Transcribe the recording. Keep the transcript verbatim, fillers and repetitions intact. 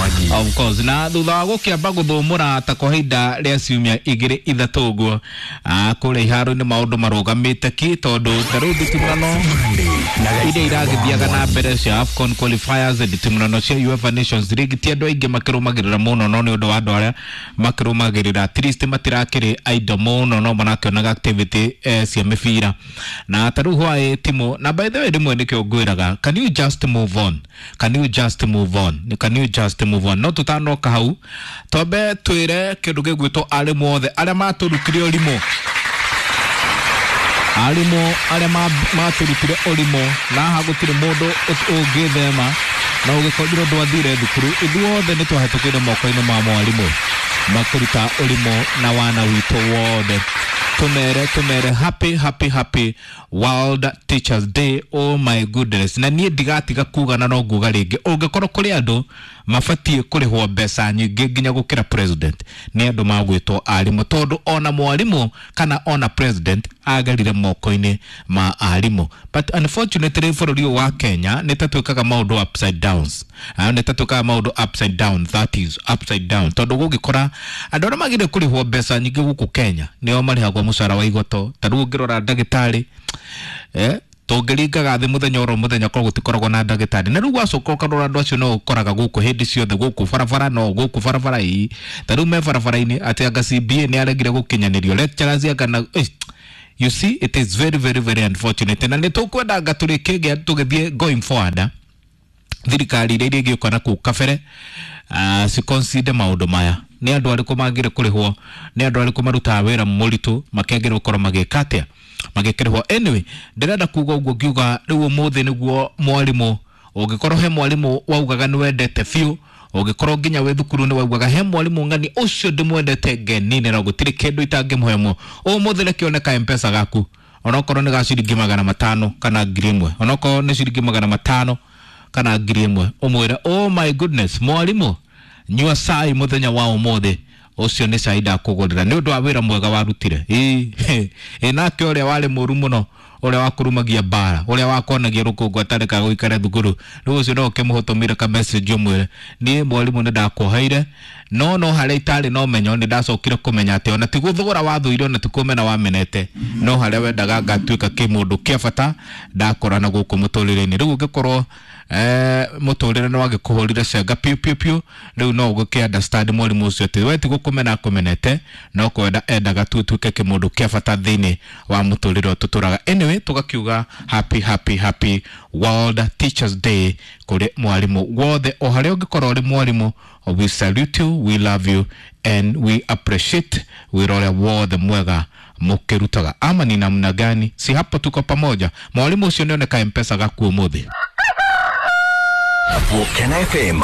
Mwangi. Of course, na thutha wa gũkĩamba gũthũmũra ta kwa ihinda rĩa ciumia igĩrĩ ithatũ ũguo, ah, kũrĩa iharo-inĩ maũndũ marũgamĩte ki, tondũ ta rĩu nditimũrano iria iragĩthiaga na mbere cia AFCON qualifiers, nditimũrano cia UEFA Nations League, ti andũ aingĩ makĩrũmagĩrĩra mũno, no nĩ ũndũ wa andũ arĩa makĩrũmagĩrĩra at least matirakĩrĩ aindo mũno, no marakĩonaga activity eh, cia mĩbira. Na ta rĩu hwaĩ timu, na by the way rĩmwe nĩkĩo ngwĩraga, can you just move on, can you just move on, can you just move on? No tũtanoka hau, twambe twĩre kĩndũ gĩgwĩtwo arimũ othe arĩa matũrutire ũrimũ, arimũ arĩa matũrutire ũrimũ, na haha gũtirĩ mũndũ ũngĩthema na ũgĩkorirwo ndwathire thukuru, ithuothe nĩ twahetũkĩire moko-inĩ ma mwarimũ makĩruta ũrimũ na wana witũ wothe. Tumere tumere happy happy happy World Teachers Day. Oh my goodness, na niĩ ndigatiga kuga na no nguga rĩngĩ, ũngĩkorwo kũrĩ andũ mabatiĩ kũrĩhwo mbeca nyingĩ nginya gũkĩra president, nĩ andũ magwĩtwo arimũ, tondũ ona mwarimũ kana ona president agerire moko-inĩ ma arimũ. But unfortunately bũrũri ũyũ wa Kenya nĩ ta twĩkaga maũndũ upside downs, nĩ ta twĩkaga maũndũ upside down, that is upside down, tondũ gũgĩkora andũ arĩa magĩrĩire kũrĩhwo mbeca nyingĩ gũkũ Kenya nĩo marĩhagwo mũcara wa igoto. Ta rĩu ũngĩrora ndagĩtarĩ, eh tũngĩringaga thĩ mũthenya oro mũthenya korwo gũtikoragwo na ndagĩtarĩ, na rĩu wacoka ũkarora andũ acio no ũkoraga gũkũ hĩndĩ ciothe, gũkũ barabara, no gũkũ barabara ii, ta rĩu me barabara-inĩ atĩ anga C B A nĩ aregire gũkinyanĩrio lecturers anga na eh, you see, it is very very very unfortunate. Na nĩ tũkwenda tũrĩkĩgĩa tũgĩthiĩ going forward, thirikari iria irĩgĩũka na kũu kabere uh, ciconsider maũndũ maya, nĩ andũ arĩkũ magĩrĩire kũrĩhwo, nĩ andũ arĩkũ marutaga wĩra mũritũ makĩagĩrĩirwo gũkorwo magĩka atĩa, magĩkĩrĩhwo. Anyway, ndĩrenda kuga ũguo ngiuga rĩu ũmũthĩ nĩguo mwarimũ, ũngĩkorwo he mwarimũ waugaga nĩ wendete biũ, ũngĩkorwo nginya wĩ thukuru nĩ waugaga he mwarimũ ng'ani ũcio ndĩmwendete ngenine na gũtirĩ kĩndũ itangĩmũhe mo, ũmũthĩ reke one M-Pesa gaku, onokorwo nĩ ga ciringi magana matano kana ngiri ĩmwe, onokorwo nĩ ciringi magana matano kana ngiri ĩmwe, ũmwĩre oh my goodness mwarimũ, nyua cai mũthenya wa ũmũthĩ, ũcio nĩ cai ndakũgũrĩra nĩ ũndũ wa wĩra mwega warutire. Ĩ nake ũrĩa warĩ mũru mũno, ũrĩa wakũrumagia mbara, ũrĩa wakonagia rũkũngũ atarekaga gũikara thukuru, rĩu ũcio no ũkĩmũhũtũmĩre ka message ũmwĩre niĩ mwarimũ nĩ ndakuoheire, no no harĩa itarĩ na ũmenyo nĩ ndacokire kũmenya atĩ ona ti gũthũra wathũire, ona ti kũmena wamenete, no harĩa wendaga ngatuĩka kĩmũndũ kĩa bata ndakorana gũkũ mũtũrĩre-inĩ. Rĩu ũngĩkorwo eh mũtũrĩre nĩ wagĩkũhũrire cenga piũ piũ piũ, rĩu no ũgĩkĩ understand mwarimũ ũcio atĩ we ti gũkũmena akũmenete, no kwenda endaga tu ũtuĩke kĩmũndũ kĩa bata thĩinĩ wa mũtũrĩre ũyũ tũtũraga. Anyway, tũgakiuga happy happy happy World Teachers Day kũrĩ mwarimũ wothe, o harĩa ũngĩkorwo ũrĩ mwarimũ, we salute you, we love you and we appreciate wĩra ũrĩa wothe mwega mũkĩrutaga. Ama ni namna gani? Si hapo tuko pamoja. Mwalimu ũcio nĩoneka M-Pesa gaku ũmũthĩ. Volcano F M.